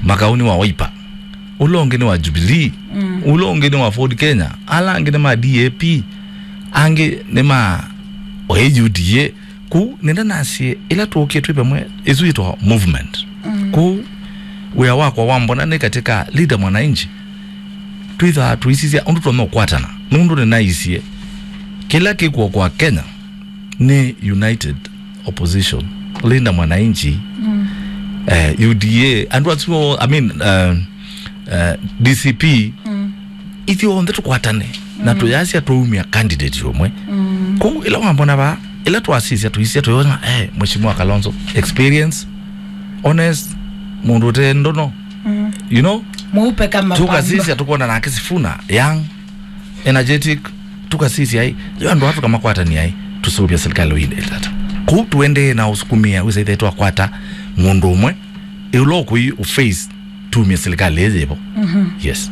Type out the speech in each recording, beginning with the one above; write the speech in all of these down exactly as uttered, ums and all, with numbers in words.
Makau nĩ wa Wiper, ũla ũngĩ nĩ wa Jubilee, mm, ũla ũngĩ nĩ wa Ford Kenya, ala angĩ nĩ ma D A P, angĩ nĩ ma, oe, U D A. Kũu nĩnda nasye, ĩla tũũkie twĩ vamwe, ĩsu yĩtawa movement. Mm. Kũu wĩa wakwa wa mbona nĩ katika Linda Mwananchi, twĩthaa tũisisya ũndũ tũtonya ũkwatana. Nũndũ nĩnaisye kĩla kĩkw'o kwa Kenya nĩ united opposition, Linda Mwananchi, mm, eh, U D A, andũ asu, I mean, eh, eh, D C P, mm, ithyonthe tũkwatane na, mm, tũyasya twaumya candidate ũmwe. Mm. Kũu ĩla wambona vaa, ĩla twasisya, tũisisya, tũyona, eh, Mheshimiwa Kalonzo, experience, honest, mũndũ ũte ndono, mm, you know? Mweupe kama pamba. Tũkasisya, tũkwona nake Sifuna, young, energetic, tũkasisya ai, yo andũ aa tũkamakwatania ai, tũsũvya serikali ũyĩndĩte ata. Kũu tũendee na ũsukumĩa, wĩsa ithe twakwata mũndũ ũmwe, ĩũla ũkũi ũface tumie serikali ĩyĩvo. Mhm. Yes.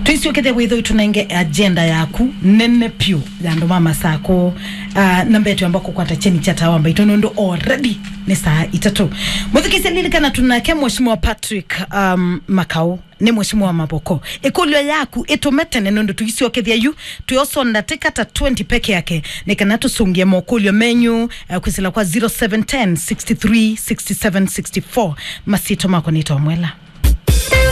Twĩsyokethya wĩthwa tũnenge agenda yaku nene pyũ ya andũ ma Masakũ. Ah, namba yetu yamba kũkwata kyeni kya tawa mbaitũ nũndũ already nĩ saa itatũ. Mũthikĩsya, lilikana tunake Mheshimiwa Patrick, um, Makau. Nĩ Mheshimiwa Mavoko. Ĩkũlyo yaku ĩtũme tene nũndũ tũisyokethya yu, twĩosa ndatĩka ta twenty peke yake, nĩ kana tũsũngĩe mokũlyo menyu, eh, kwĩsĩla kwa zero seven ten, sixty three, sixty seven, sixty four. Masyĩtwa makwa nĩ Tomwela.